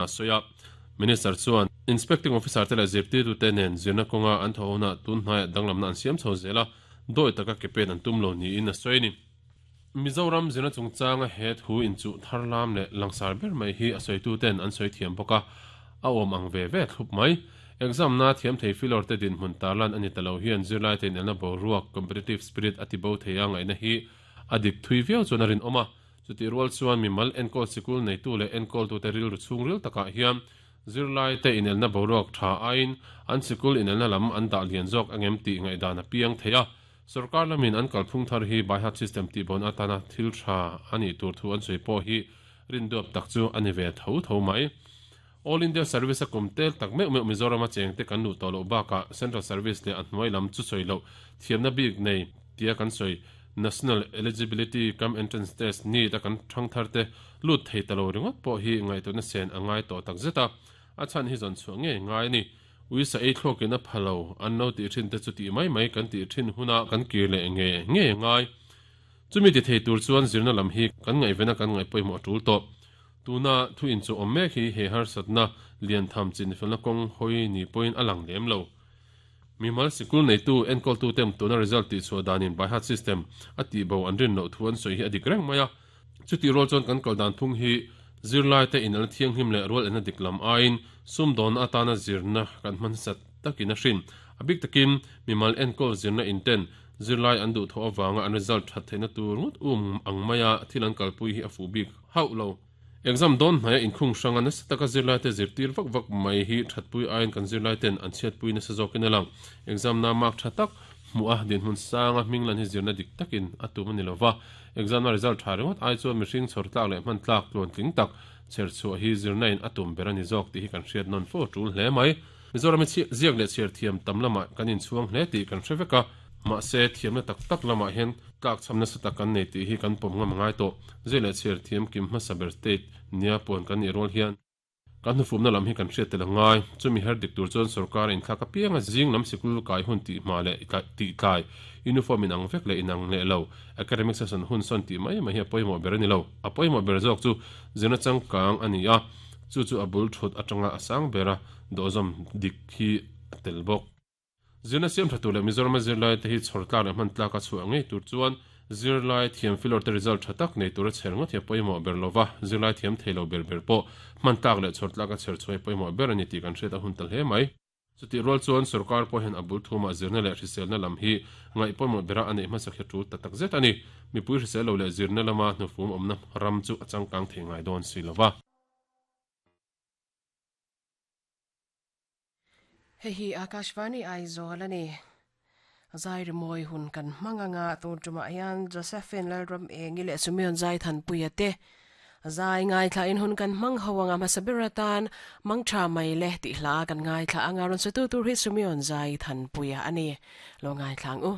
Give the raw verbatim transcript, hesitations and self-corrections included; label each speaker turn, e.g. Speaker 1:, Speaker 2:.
Speaker 1: A sawi a. Minister chuan Inspecting Officer te leh zirtirtute nen zirna kawnga an thawhona tunhnaiah danglamna an siam chho zel a, dawi taka ke pen an tum lo niin a sawi a ni. Mizoram zirna chungchanga he thu inchuh thar lam leh langsar ber mai hi a sawituten an sawi thiam bawk a, a awm ang ve ve thlup mai. Exam na thiam thei filawr te dinhmun tarlan a ni ta lo hian zirlaite inelna boruak, competitive spirit, a tibo thei a ngaihna hi a dik thui viau chuan a rinawm a. Chutih rual chuan mimal enkawl sikul neitu leh enkawltute rilru chhungril takah hian zirlaite inelna boruak tha aiin an sikul inelna lam an dah lian zawk angem tih ngaihdan a piang thei a. Sorkar lamin an kalphung thar hi by-heart system tihbawn atana thil tha a nih tur thu an sawi pawh hi rinduap tak chu a ni ve tho tho mai. All India Service a kum tel tak meuh meuh Mizorama chengte kan luh tawh loh bakah Central Service leh a hnuai lam chu sawi loh thiamna bik nei tia kan sawi National Eligibility cum Entrance Test, NEET, a kan thangthar te lut thei ta lo ringawt pawh hi ngaihtuahna sen a ngai tawh tak zet a, a chhan hi zawn chhuah ngei ngai a ni. Uisa ei thluakin a pha lo, an lo tih thin te chu tih mai mai kan tih thin huna kan kir leh nge nge ngai. Chumi ti thei tur chuan zirna lam hi kan ngaihvena kan ngaih pawimawh a tul tawh. Tuna thu inchuh awm mek hi he harsatna lian tham chinfelna kawng hawi ni pawhin a lang lem lo. Mimal sikul neitu enkawltute tuna result tihchhuah danin by heart system a tihbo an rin loh thu an sawi hi a dik reng mai a. Chutih rual chuan kan kal dan phung hi zirlaite inelna thianghlim leh rual enna dik lam aiin sumdawnna atana zirna kan hman sat takin a hrin. A bik takin mimal enkawl zirna inten zirlai an duhthawh avanga an result that theihna tur ngawt um ang maia thil an kalpui hi a fuh bik hauh lo. Exam dawn hnaia inkhung hranga nasa taka zirlaite zirtir vak vak mai hi thatpui aiin kan zirlaiten an chhiatpui nasa zawkin a lang. Exam na mark tha tak hmuh a dinhmun sanga hming lan hi zirna dik takin a tum a ni lova. Exam na result tha ringawt ai chuan mihring chhawr tlak leh hman tlak tluantling tak chher chhuah hi zirna in a tum ber a ni zawk tih hi kan hriat nawn fo tul hle mai. Mizoram hi ziak leh chhiar thiam tam lamah kan inchhuang hle tih kan hre vek a, mahse thiamna tak tak lamah hian tlakchham nasa tak kan nei tih hi kan pawm ngam ngai tawh. Ziak leh chhiar thiam kim hmasa ber state nia puan kan nih rual hian kan hnufumna lam hi kan hriat tel a ngai. Chumi her dik tur chuan sorkar inthlak apianga zing lam sikul kai hun tih hma leh tih tlai, uniform inang vek leh inang leh lo, academic session hun sawn tih mai mai hi a pawimawh ber a ni lo. A pawimawh ber zawk chu zirna changkang a ni a, chu chu a bul thut atanga a sang bera dawhzawm dik hi a tel bawk. Zirna siam tha tur leh Mizorama zirlaite hi chhawr tlak leh hman tlaka chhuah ngei tur chuan zirlai thiam filawr te result tha tak nei tura chher ngawt hi a pawimawh ber lova, zirlai thiam thei lo ber ber pawh hman tlak leh chhawr tlaka chher chhuah hi pawimawh ber a ni tih kan hriat a hun ta hle mai. Chutih rual chuan sorkar pawh hian a bul thumah zirna leh hriselna lam hi ngaih pawimawh bera a neih hmasak hi a tul ta tak zet a ni. Mipui hrisel lo leh zirna lama hnufum awmna ram chu a changkang thei ngai dawn si lova.
Speaker 2: Hei hi Akashvani Aizawl a ni. Zai rimawi hun kan hmang anga tun tumah hian Josephine Lalram Engi leh Sumion Zaithanpuia te zai ngaithlain hun kan hmang ho anga hmasa ber atan Mangtha mai le tih hla kan ngaithla anga rawn satu tur hi Sumion Zaithanpuia a ni. Lo ngaithla ang u.